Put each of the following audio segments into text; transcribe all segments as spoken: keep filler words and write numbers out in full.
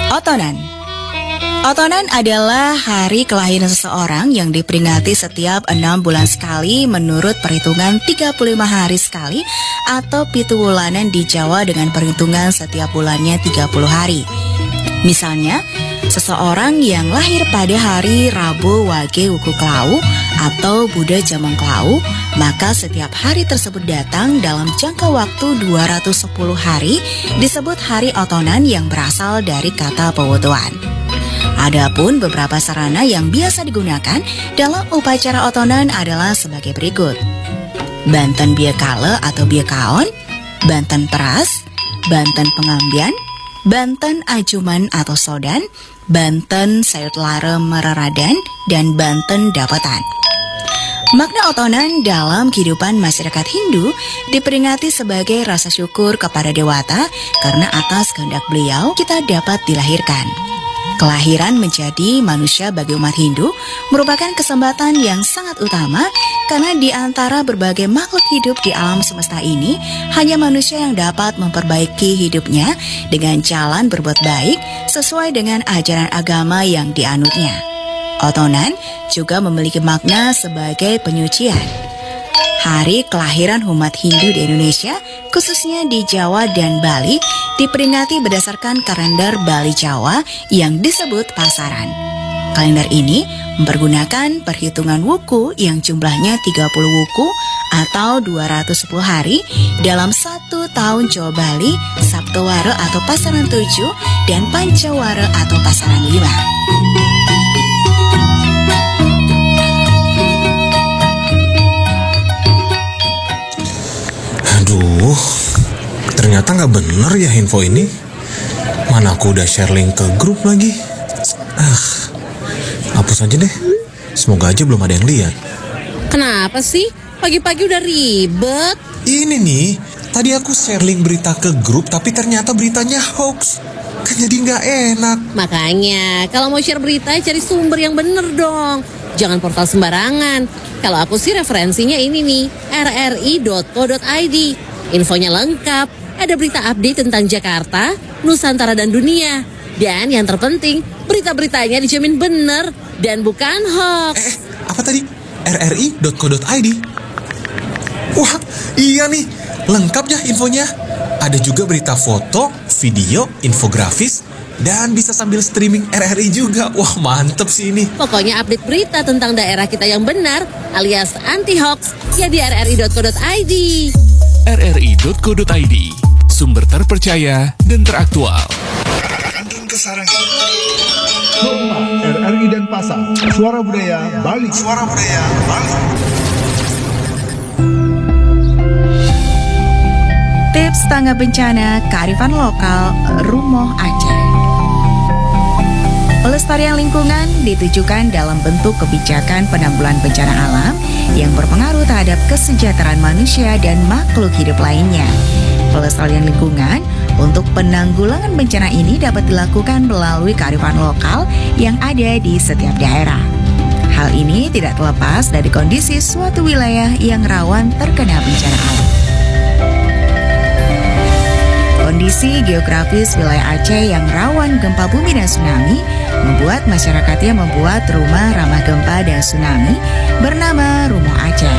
Otonan. Otonan adalah hari kelahiran seseorang yang diperingati setiap enam bulan sekali menurut perhitungan tiga puluh lima hari sekali atau pitu wulanan di Jawa dengan perhitungan setiap bulannya tiga puluh hari. Misalnya, seseorang yang lahir pada hari Rabu Wage Wuku Klau atau Buddha Jamang Klau, maka setiap hari tersebut datang dalam jangka waktu dua ratus sepuluh hari disebut hari otonan yang berasal dari kata pewotoan. Adapun beberapa sarana yang biasa digunakan dalam upacara otonan adalah sebagai berikut. Banten biakala atau biakaon, banten peras, banten pengambian, banten ajuman atau sodan, banten sayut lara meraradan, dan banten dapatan. Makna otonan dalam kehidupan masyarakat Hindu diperingati sebagai rasa syukur kepada dewata karena atas kehendak beliau kita dapat dilahirkan. Kelahiran menjadi manusia bagi umat Hindu merupakan kesempatan yang sangat utama karena di antara berbagai makhluk hidup di alam semesta ini, hanya manusia yang dapat memperbaiki hidupnya dengan jalan berbuat baik sesuai dengan ajaran agama yang dianutnya. Otonan juga memiliki makna sebagai penyucian. Hari kelahiran umat Hindu di Indonesia, khususnya di Jawa dan Bali, diperingati berdasarkan kalender Bali Jawa yang disebut Pasaran. Kalender ini mempergunakan perhitungan wuku yang jumlahnya tiga puluh wuku atau dua ratus sepuluh hari dalam satu tahun Jawa Bali, Saptowara atau Pasaran tujuh, dan Pancawara atau Pasaran lima. Aduh, ternyata nggak bener ya info ini. Mana aku udah share link ke grup lagi. Ah, hapus aja deh. Semoga aja belum ada yang lihat. Kenapa sih? Pagi-pagi udah ribet. Ini nih, tadi aku share link berita ke grup tapi ternyata beritanya hoax. Kan jadi nggak enak. Makanya, kalau mau share berita, cari sumber yang bener dong. Jangan portal sembarangan. Kalau aku sih referensinya ini nih, rri.co.id. Infonya lengkap. Ada berita update tentang Jakarta, Nusantara dan dunia. Dan yang terpenting, berita-beritanya dijamin bener dan bukan hoax. Eh, apa tadi? rri.co.id. Wah, iya nih. Lengkap ya infonya. Ada juga berita foto, video, infografis, dan bisa sambil streaming R R I juga. Wah, mantep sih ini. Pokoknya update berita tentang daerah kita yang benar alias anti hoax ya di rri.co.id. rri.co.id, sumber terpercaya dan teraktual. Rumah R R I Denpasar, Suara Budaya Bali. Suara Budaya Bali. Tips tanggap bencana kearifan lokal Rumoh Aceh. Pelestarian lingkungan ditujukan dalam bentuk kebijakan penanggulangan bencana alam yang berpengaruh terhadap kesejahteraan manusia dan makhluk hidup lainnya. Pelestarian lingkungan untuk penanggulangan bencana ini dapat dilakukan melalui kearifan lokal yang ada di setiap daerah. Hal ini tidak terlepas dari kondisi suatu wilayah yang rawan terkena bencana alam. Kondisi geografis wilayah Aceh yang rawan gempa bumi dan tsunami membuat masyarakatnya membuat rumah ramah gempa dan tsunami bernama Rumoh Aceh.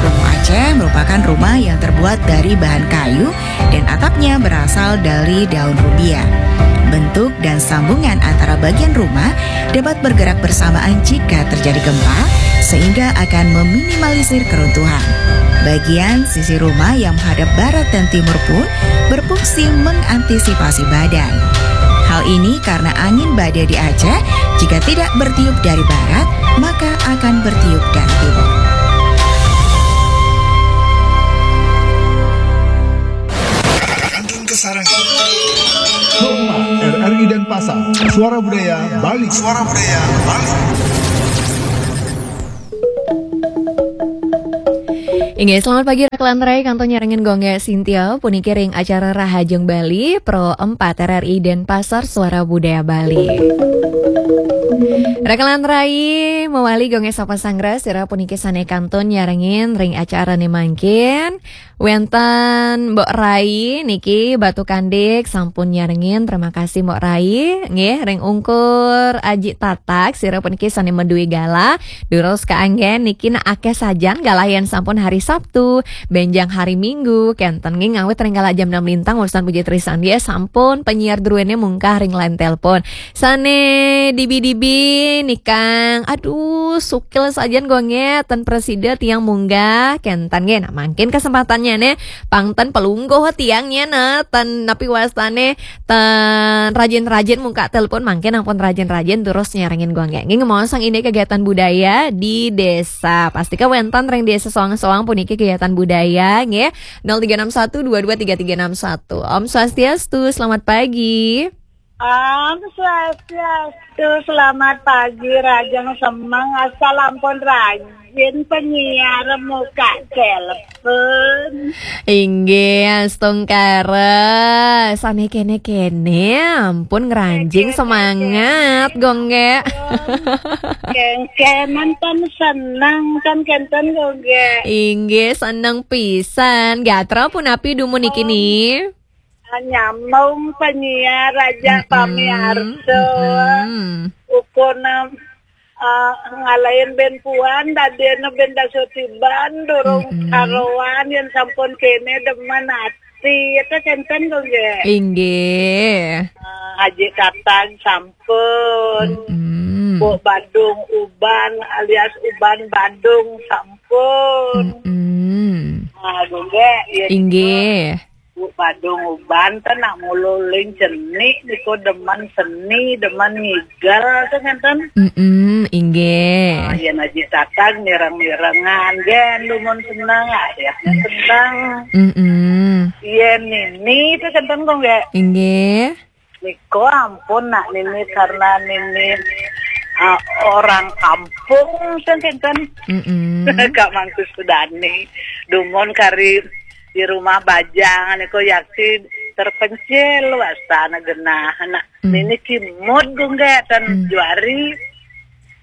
Rumoh Aceh merupakan rumah yang terbuat dari bahan kayu dan atapnya berasal dari daun rubia. Bentuk dan sambungan antara bagian rumah dapat bergerak bersamaan jika terjadi gempa, sehingga akan meminimalisir keruntuhan. Bagian sisi rumah yang menghadap barat dan timur pun berfungsi mengantisipasi badai. Hal ini karena angin badai di Aceh, jika tidak bertiup dari barat, maka akan bertiup dari timur. Rumah R R I Denpasar, Suara Budaya Bali. Suara Budaya Bali. Inggih, selamat pagi Rakelan Rai, kantun nyarengin Gung Gek Sintia, puniki ring acara Rahajeng Bali, Pro empat R R I Denpasar, Suara Budaya Bali. Rakelan Rai, mawali Gung Gek sapa sanggra, sira puniki sane kantun nyarengin ring acarane mangkin. Wenten Mbok Rai niki Batu Kandik sampun nyarengin, terima kasih Mbok Rai. Nggih, ring ungkur Aji Tatak, sira puniki sane madue galah. Durus kaanggen niki nak akeh sajan galah yen sampun hari Sabtu, benjang hari Minggu, kenten nggih ngawit ring galah jam enam lintang urusan Puji Trisandya sampun penyiar druene mungkah ring line telepon. Sane dibi-dibi nikang, aduh, sukil sajan Gung Gek, ten prasida tiang munggah, kenten nggih. Nah, mangkin kesempatannya ne, pang ten pelungguh tiangnya ne, ten napi wastane, ten rajin-rajin muka telepon, mangkin ampun rajin-rajin terus nyarengin Gung Gek. Nggih, ngemaosang ini kegiatan budaya di desa. Pastika wenten ring desa soang-soang puniki kegiatan budaya, nggih. Nol tiga enam satu dua dua tiga tiga enam satu. Om Swastiastu, selamat pagi. Om Swastiastu, selamat pagi, Rajeng Semeng, asal ampun rajin penyiar muka telepon. Inggih, astungkara. Sane kene-kene, ampun ngranjing semangat, Gung Gek. Kengkenan kan seneng, kan kenten, Gung Gek. Inggih, seneng pisan. Gatra punapi dumun niki ni? Nyambung penyiar aja, mm-mm, pamiarsa. Mm-mm. Ukuna, ah, ngalahin ben puan, dadena ben dasa tiban, durung, mm-mm, karuan, yen sampun kene demen ati. Itu kenten, Gung Gek. Inggih. Ah, Haji Tatang sampun. Mm-mm. Mbok Badung Uban alias Uban Badung sampun. Mm-mm. Ah, Gung Gek, yen inggih. Bu Badung Uban ten nak ngululing cenik niku demen seni, demen ngigel ten ngenten. Mm-mm, inggih. Ah, yen Aji Tatang mireng-mirengan, gen dumun seneng, ayahnya seneng. Mm-mm. Yen Nini itu kenten, Gung Gek. Inggih. Niko ampun nak Nini karena Nini, ah, orang kampung ten kenten. Mm-mm. Kak Mangku Sudani. Dumun kari di rumah bajang niko yakti terpencil wastana genah. Nak, mm, Nini kimud, Gung Gek, ten, mm, juari.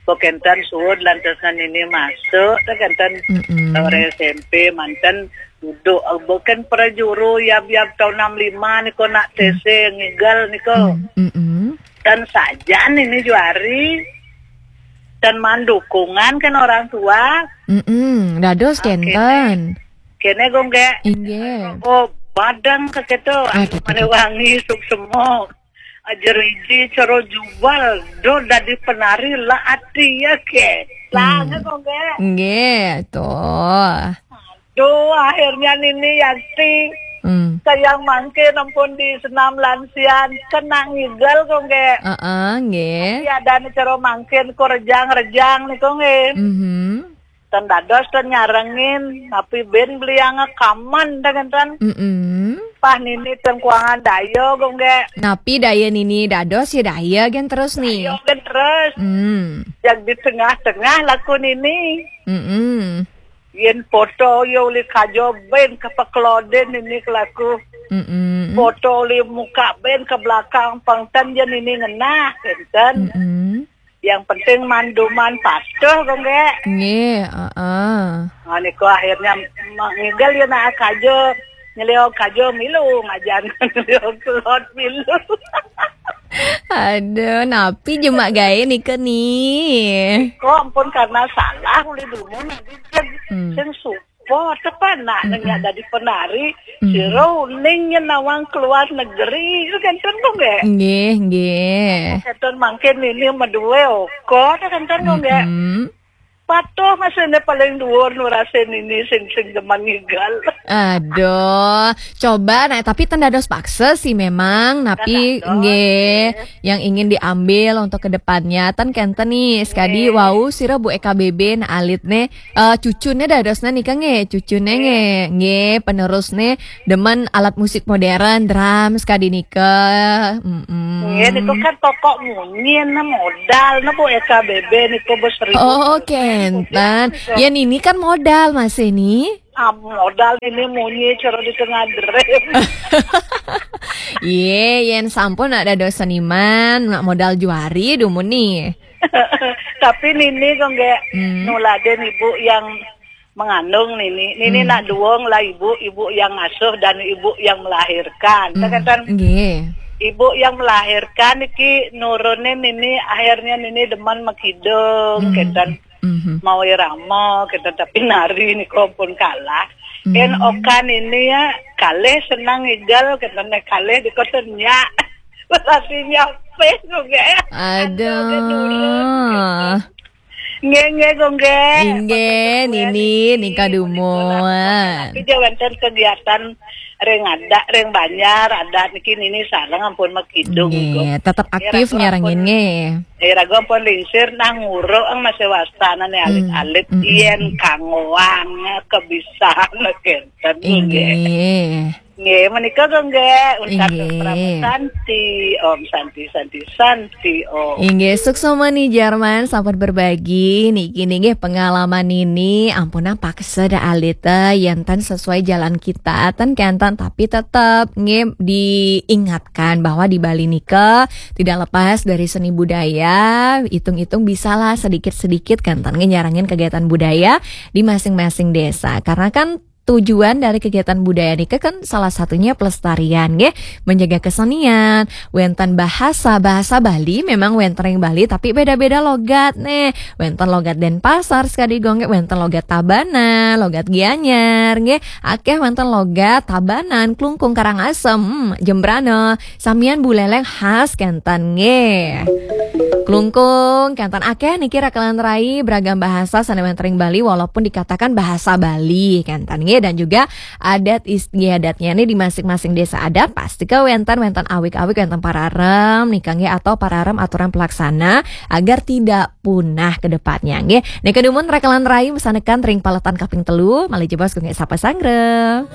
Bo kenten suud lantas Nini masuk, ten kenten, mm-mm, orang S M P manten duduk, eh, bo ken prajuru yab-yab tahun enam lima niko nak, mm, tese ngigel niko. Mm, mm-mm. Dan sajan Nini juari. Dan mandukungan kan orang tua. Mm-mm, dados, ah, kenten. Kene, Gung Gek. Inggih. Oh, badang ke keto. Aduh, mane aduh. Wangi, suksma. Aja riji cara jubal, do dadi penari la ati ya ke. Lah, hmm, Gung Gek. Nggih, to. Duh, akhirnya Nini yakti. Hmm. Sayang mangke ampun di senam lansian, kena ngigel, Gung Gek. Heeh, nggih. Tapi ada nih cara mangkin ku rejang-rejang nih, Gung Gek. Mhm. Ten dados ten nyarengin, napi ben beliang kaman dengan ten. Mm-mm. Pah Nini ten kuangan daya, Gung Gek. Napi daya Nini dados ya daya gen terus nih. Daya gen terus. Hmm. Yang di tengah-tengah laku Nini. Mm-mm. Yen foto ya uli kajo ben kepekelodin Nini kelaku. Mm-mm. Foto uli muka ben ke belakang pengten je Nini ngenah, kenten. Mm-mm. Yang penting manduman patuh, Gung Gek. Nggih, heeh. Nah, niku akhirnya ma-, ngigel ya nak kajo, nyeliok kajo milu, ngajan nyeliok kelod milu. Aduh, napi jemak gae nika ni? Kok ampun karena salah uli dumun nanti kan. Hmm. Sing su-, po tepan nak, mm-mm, nengah dadi penari, mm-mm, sira uning nyen nawang keluar negeri, itu kenten kok, nggih? Nggih, nggih. Kenten mangkin ini medue oko, itu kenten kok, nggih? Mm-mm. Patuh masih ini paling dhuwur nurase Nini sing, sing demen ngigel. Aduh, coba nah, tapi ten dados paksa sih memang, napi, ten dados, nggih, nggih, yang ingin diambil untuk ke depannya. Ten kenten nih, sekadi, nggih, wau sira Bu E K B B nah alit nih, eh, cucune dadosne nika nggih, cucune, nggih, nggih, nggih, penerusne demen alat musik modern, drum sekadi nika. Mm-mm. Nggih, niku kan pokok munyi nah modal nah Bu E K B B niku bos seribu. Oh, persen kenten. Modal niku. Ya Nini kan modal masih nih. Ah, modal ini munyi cara di tengah drem. Ye, yen sampun nak dados seniman, nak modal juari dumun nih. Tapi nini kok nggak Hmm. nuladen ibu yang mengandung nini. Nini Hmm. Nak duwong lah ibu, ibu yang ngasuh dan ibu yang melahirkan. Hmm, Kan nggih. ibu yang melahirkan iki nurunin nini akhirnya nini demen makidung Hmm. kenten Mhm. mau irama kenten tapi nari niku pun kalah. Hmm. Yen okan ini ya kalih senang ngidal kenten nek kalih dikoten nyak. Berarti nyape kok nggak ya? Ada, ada nurun, Aduh. Nggih, nggih, kok nggih. Inggih, Kok nggih, nini, niki, nika niki, dumun. Tapi dia wonten kegiatan ring adat, ring banjar, adat niki nini sareng ampun makidung. Nggih, Kok. tetep Nggih, aktif ragu nyarengin ampun. Nggih. Eh, ragu ampun lingsir nang nguruk ang masih wastanane Hmm, alit-alit hmm, hmm, yen hmm. kanggoang kebisan kenten nggih. Inggih. Nggih, menika kok nggih. Untat Inggih. Prameswari Santi, Om Santi, Santi, Santi, Om. Inggih, suksma nih Jarman, sampun berbagi niki nggih pengalaman ini. Ampun paksa dah alita yen ten sesuai jalan kita, ten kenten, tapi tetep nggih diingatkan bahwa di Bali nika tidak lepas dari seni budaya. Hitung-hitung bisalah sedikit-sedikit kenten nggih nyarengin kegiatan budaya di masing-masing desa. Karena kan tujuan dari kegiatan budaya nika kan salah satunya pelestarian nggih, menjaga kesenian, wenten bahasa, bahasa Bali memang wenten ring Bali tapi beda-beda logat nih. Wenten logat Denpasar sekadi kok nggih, wenten logat Tabanan, logat Gianyar nggih, akeh wenten logat Tabanan, Klungkung, Karangasem, hmm, Jembrana, samian Buleleng khas kenten nggih. Klungkung, kenten akeh niki rakelan rai beragam bahasa sane wenten ring Bali walaupun dikatakan bahasa Bali kenten nggih, dan juga adat istiadatnya nih di masing-masing desa adat pasti ke wenten, wenten awik-awik, wenten pararem nika nggih atau pararem aturan pelaksana agar tidak punah ke depannya nggih. Nika dumun rakelan rai mesanekan ring paletan kaping telu, malih jebos kok nggih sapa sanggra.